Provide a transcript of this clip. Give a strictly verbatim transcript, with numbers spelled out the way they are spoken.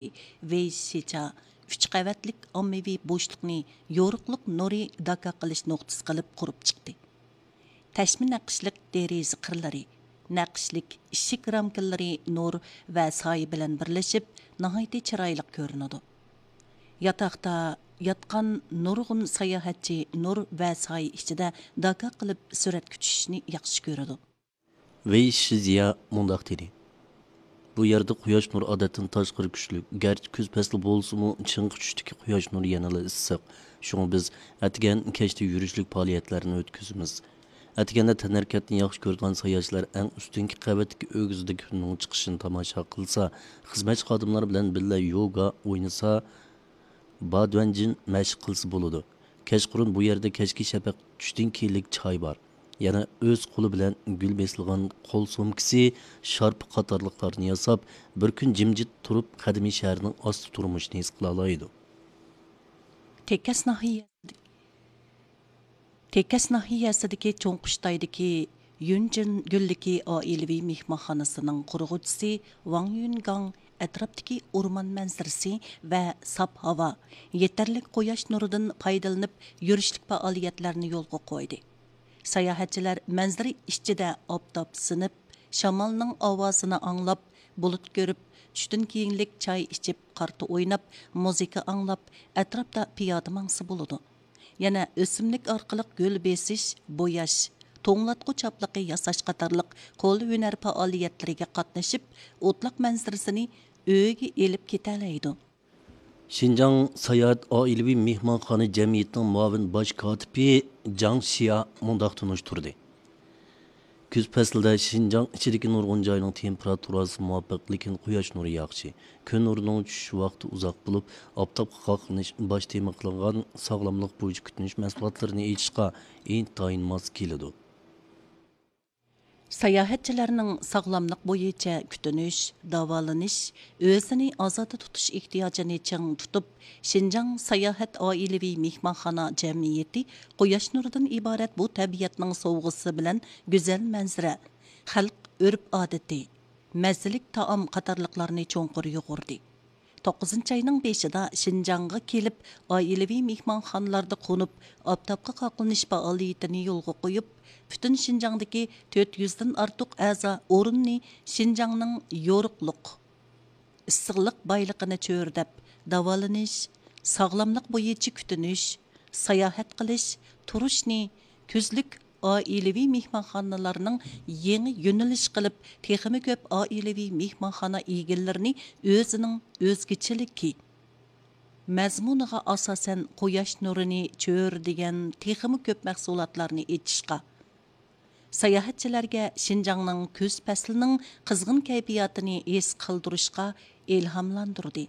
ۋېيشىچا ئۈچ قەۋەتلىك ئاممىۋى بوشلۇقنى يورۇقلۇق نۇرى داكا قىلىش نۇقتىسى قىلىپ قۇرۇپ چىقتى. تەشمە نەقىشلىك دېرىزە قىرلىرى، نەقىشلىك ئىشىك رامكىلىرى نۇر ۋە سايە بىلەن بىرلىشىپ، ناھايىتى چىرايلىق كۆرۈنىدۇ. ياتاقتا ياتقان نۇرغۇن ساياھەتچى نۇر ۋە سايە ئىچىدە داكا قىلىپ سۈرەتكە چۈشۈشنى ياخشى كۆرىدۇ. ۋېي شىزيا مۇنداق دېدى: بۇ يەردە قۇياش نۇرى ئادەتتىن تاشقىرى كۈچلۈك، گەرچە كۈز پەسلى بولسىمۇ، چىڭقى چۈشتىكى قۇياش نۇرى يەنىلا ئىسسىق. شۇڭا بىز ئەتىگەن، كەچتە يۈرۈشلۈك پائالىيەتلەرنى ئۆتكۈزىمىز. ئەتىگەندە تەنھەرىكەتنى ياخشى كۆرىدىغان ساياھەتچىلەر ئەڭ ئۈستۈنكى قەۋەتتىكى ئۆگزىدە كۈننىڭ چىقىشىنى تاماشا قىلسا، خىزمەتچى خادىملار بىلەن بىللە يوگا ئوينىسا، بادۇەنجىن مەشىق قىلسا بولىدۇ. كەچقۇرۇن بۇ يەردە كەچكى شەپەق چۈشتىن كېيىنلىك چاي بار. يەنە ئۆز قولى بىلەن گۈل بېسىلغان قول سومكىسى، شارپا قاتارلىقلارنى ياساپ، بىر كۈن جىمجىت تۇرۇپ، قەدىمىي شەھەرنىڭ ئاستا تۇرمۇشىنى ھېس قىلالايدۇ. تېكەس ناھىيە تېكەس ناھىيەسىدىكى چوڭ قۇشتايدىكى يۈنجىن گۈللۈكى ئائىلىۋى مېھمانخانىسىنىڭ قۇرغۇچىسى ۋاڭ يۈنگاڭ ئەتراپتىكى ئورمان مەنزىرىسى ۋە ساپ ھاۋا، يېتەرلىك قۇياش نۇرىدىن پايدىلىنىپ يۈرۈشلۈك پائالىيەتلەرنى يولغا قويدى. ساياھەتچىلەر مەنزىرە ئىچىدە ئاپتاپ سىنىپ، شامالنىڭ ئاۋازىنى ئاڭلاپ، بۇلۇت كۆرۈپ، چۈشتىن كېيىنلىك چاي ئىچىپ، قارتا ئويناپ، مۇزىكا ئاڭلاپ، ئەتراپتا پىيادە ماڭسا بولىدۇ. يەنە ئۆسۈملۈك ئارقىلىق گۈل بېسىش، بوياش، توڭلاتقۇ چاپلىقى ياساش قاتارلىق قول ھۈنەر پائالىيەتلىرىگە قاتنىشىپ، ئوتلاق مەنزىرىسىنى ئۆيىگە ئېلىپ كېتەلەيدۇ. شىنجاڭ ساياھەت ئائىلىۋى مېھمانخانا جەمئىيىتىنىڭ مۇئاۋىن باش كاتىپى جاڭ شيا مۇنداق تونۇشتۇردى: كۈز پەسلىدە شىنجاڭ ئىچىدىكى نۇرغۇن جاينىڭ تېمپېراتۇراسى مۇۋاپىق، لېكىن قۇياش نۇرى ياخشى. كۈن نۇرىنىڭ چۈشۈش ۋاقتى ئۇزاق بولۇپ، ئاپتاپقا قاقلىنىش باش تېما قىلىنغان ساغلاملىق بويىچە كۈتۈنۈش مەھسۇلاتلىرىنى ئېچىشقا ئىنتايىن ماس كېلىدۇ. ساياھەتچىلەرنىڭ ساغلاملىق بويىچە كۈتۈنۈش، داۋالىنىش، ئۆزىنى ئازادە تۇتۇش ئېھتىياجىنى چىڭ تۇتۇپ، شىنجاڭ ساياھەت ئائىلىۋى مېھمانخانا جەمئىيىتى قۇياش نۇرىدىن ئىبارەت بۇ تەبىئەتنىڭ سوۋغىسى بىلەن گۈزەل مەنزىرە، خەلق ئۆرپ-ئادىتى، مەززىلىك تائام قاتارلىقلارنى چوڭقۇر يۇغۇردى. توققۇزىنچى ئاينىڭ بېشىدا شىنجاڭغا كېلىپ، ئائىلىۋى مېھمانخانىلاردا قونۇپ، ئاپتاپقا قاقلىنىش پائالىيىتىنى يولغا قويۇپ، پۈتۈن شىنجاڭدىكى تۆت يۈزدىن ئارتۇق ئەزا ئورۇننى شىنجاڭنىڭ يورۇقلۇق، ئىسسىقلىق بايلىقىنى چۆرىدەپ، داۋالىنىش، ساغلاملىق بويىچە كۈتۈنۈش، ساياھەت قىلىش، تۇرۇشنى، كۈزلۈك ئائىلىۋى مېھمانخانىلارنىڭ يېڭى يۆنىلىش قىلىپ، تېخىمۇ كۆپ ئائىلىۋى مېھمانخانا ئىگىلىرىنى ئۆزىنىڭ ئۆزگىچىلىكى، مەزمۇنىغا ئاساسەن قۇياش نۇرىنى چۆرىدىگەن تېخىمۇ كۆپ مەھسۇلاتلارنى ئېچىشقا، ساياھەتچىلەرگە شىنجاڭنىڭ كۈز پەسلىنىڭ قىزغىن كەيپىياتىنى ھېس قىلدۇرۇشقا ئىلھاملاندۇردى.